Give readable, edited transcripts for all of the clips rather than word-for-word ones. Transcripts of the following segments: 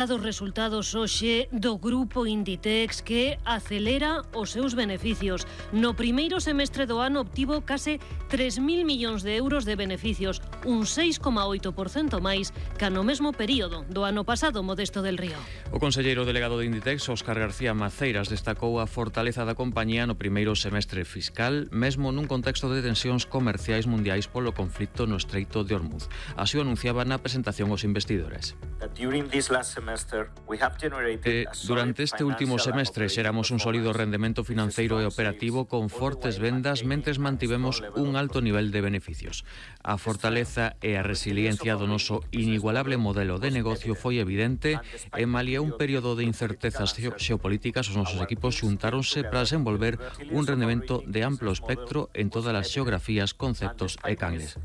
Dos resultados hoxe do grupo Inditex que acelera os seus beneficios. No primeiro semestre do ano obtivo case 3.000 millóns de euros de beneficios, un 6,8% máis que no mesmo período do ano pasado, Modesto del Río. O conselleiro delegado de Inditex, Óscar García Maceiras, destacou a fortaleza da compañía no primeiro semestre fiscal, mesmo nun contexto de tensións comerciais mundiais polo conflito no Estreito de Hormuz. Así o anunciaba na presentación aos investidores. Durante este último semestre xeramos un sólido rendemento financeiro e operativo con fortes vendas mentres mantivemos un alto nivel de beneficios. A fortaleza e a resiliencia do noso inigualable modelo de negocio foi evidente e malia un período de incertezas xeopolíticas os nosos equipos xuntáronse para desenvolver un rendemento de amplo espectro en todas as xeografías, conceptos e canles.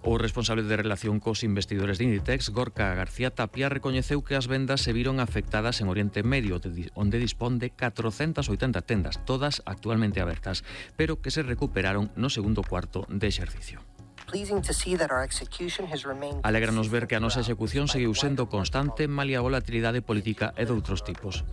O responsable de relación cos investidores de Inditex, Gorka García Tapia, recoñeceu que as vendas se viron afectadas en Oriente Medio, onde dispón de 480 tendas, todas actualmente abertas, pero que se recuperaron no segundo cuarto de exercicio. Alégranos ver que a nosa execución seguiu sendo constante malia a volatilidade política e doutros tipos.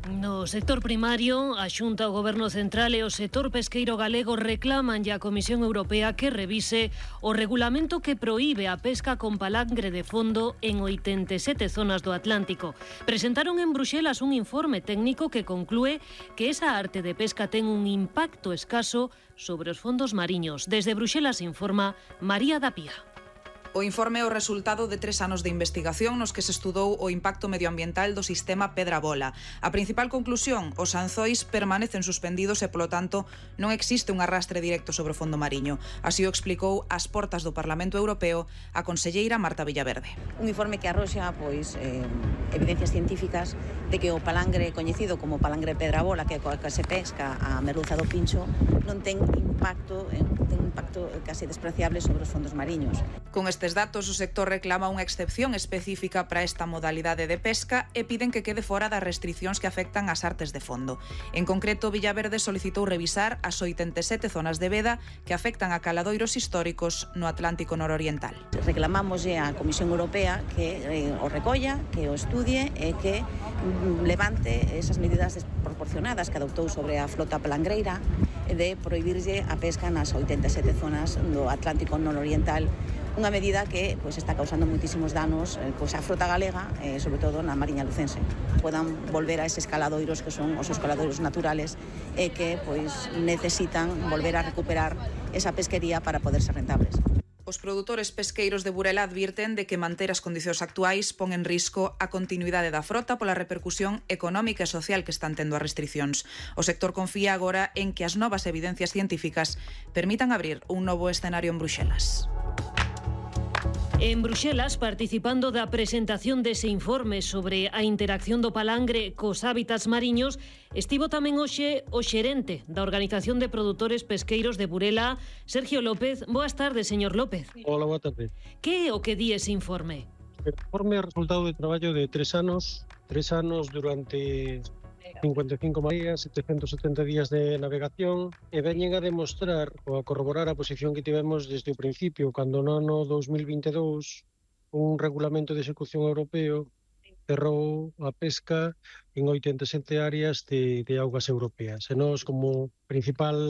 No sector primario, a Xunta, o Goberno Central e o sector pesqueiro galego reclaman a Comisión Europea que revise o regulamento que proíbe a pesca con palangre de fondo en 87 zonas do Atlántico. Presentaron en Bruxelas un informe técnico que conclúe que esa arte de pesca ten un impacto escaso sobre os fondos mariños. Desde Bruxelas informa María da Pía. O informe é o resultado de 3 anos de investigación nos que se estudou o impacto medioambiental do sistema Pedra Bola. A principal conclusión, os anzois permanecen suspendidos e, polo tanto, non existe un arrastre directo sobre o fondo mariño. Así o explicou ás portas do Parlamento Europeo a conselleira Marta Villaverde. Un informe que arroxa evidencias científicas de que o palangre coñecido como palangre Pedra Bola, que se pesca a merluza do pincho, non ten impacto casi despreciable sobre os fondos mariños. Con estes datos, o sector reclama unha excepción específica para esta modalidade de pesca e piden que quede fora das restricións que afectan as artes de fondo. En concreto, Villaverde solicitou revisar as 87 zonas de veda que afectan a caladoiros históricos no Atlántico nororiental. Reclamamos á Comisión Europea que o recolla, que o estudie e que levante esas medidas desproporcionadas que adoptou sobre a flota palangreira de prohibirlle a pesca nas 87 zonas do Atlántico nororiental, unha medida que está causando moitísimos danos á frota galega, sobre todo na mariña lucense. Podan volver a eses caladoiros que son os caladoiros naturales e que necesitan volver a recuperar esa pesquería para poder ser rentables. Os produtores pesqueiros de Burela advirten de que manter as condicións actuais pon en risco a continuidade da frota pola repercusión económica e social que están tendo as restricións. O sector confía agora en que as novas evidencias científicas permitan abrir un novo escenario en Bruxelas. En Bruxelas, participando da presentación dese informe sobre a interacción do palangre cos hábitats mariños, estivo tamén hoxe o xerente da Organización de Produtores Pesqueiros de Burela, Sergio López. Boas tardes, señor López. Hola, boa tarde. Que é o que di ese informe? O informe é o resultado de traballo de 3 anos durante 55 días, 770 días de navegación, e veñen a demostrar ou a corroborar a posición que tivemos desde o principio, cando no ano 2022 un regulamento de execución europeo cerrou a pesca en 87 áreas de augas europeas. E nós, como principal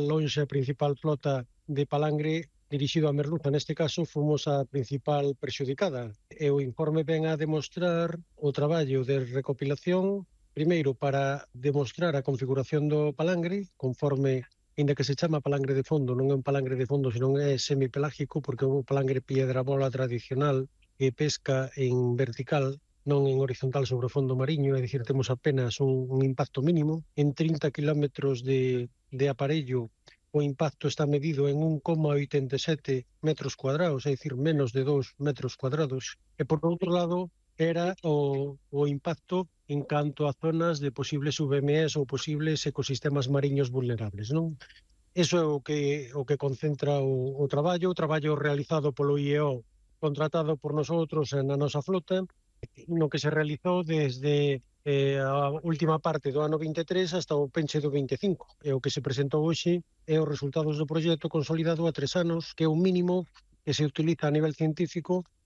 flota de palangre dirixido a merluza, neste caso, fomos a principal prexudicada. E o informe ven a demostrar o traballo de recopilación, primeiro, para demostrar a configuración do palangre, conforme, ainda que se chama palangre de fondo, non é un palangre de fondo, senón é semipelágico, porque é un palangre piedra bola tradicional que pesca en vertical, non en horizontal sobre o fondo mariño, é dicir, temos apenas un impacto mínimo. En 30 kilómetros de aparello, o impacto está medido en 1,87 metros cuadrados, é dicir, menos de 2 metros cuadrados. E, por outro lado, era o impacto en canto a zonas de posibles VMEs ou posibles ecosistemas mariños vulnerables, non? Eso é o que concentra o traballo realizado polo IEO, contratado por nosotros na nosa flota, no que se realizou desde a última parte do ano 23 hasta o penche do 25. E o que se presentou hoxe é os resultados do proxecto consolidado a 3 anos, que é o mínimo que se utiliza a nivel científico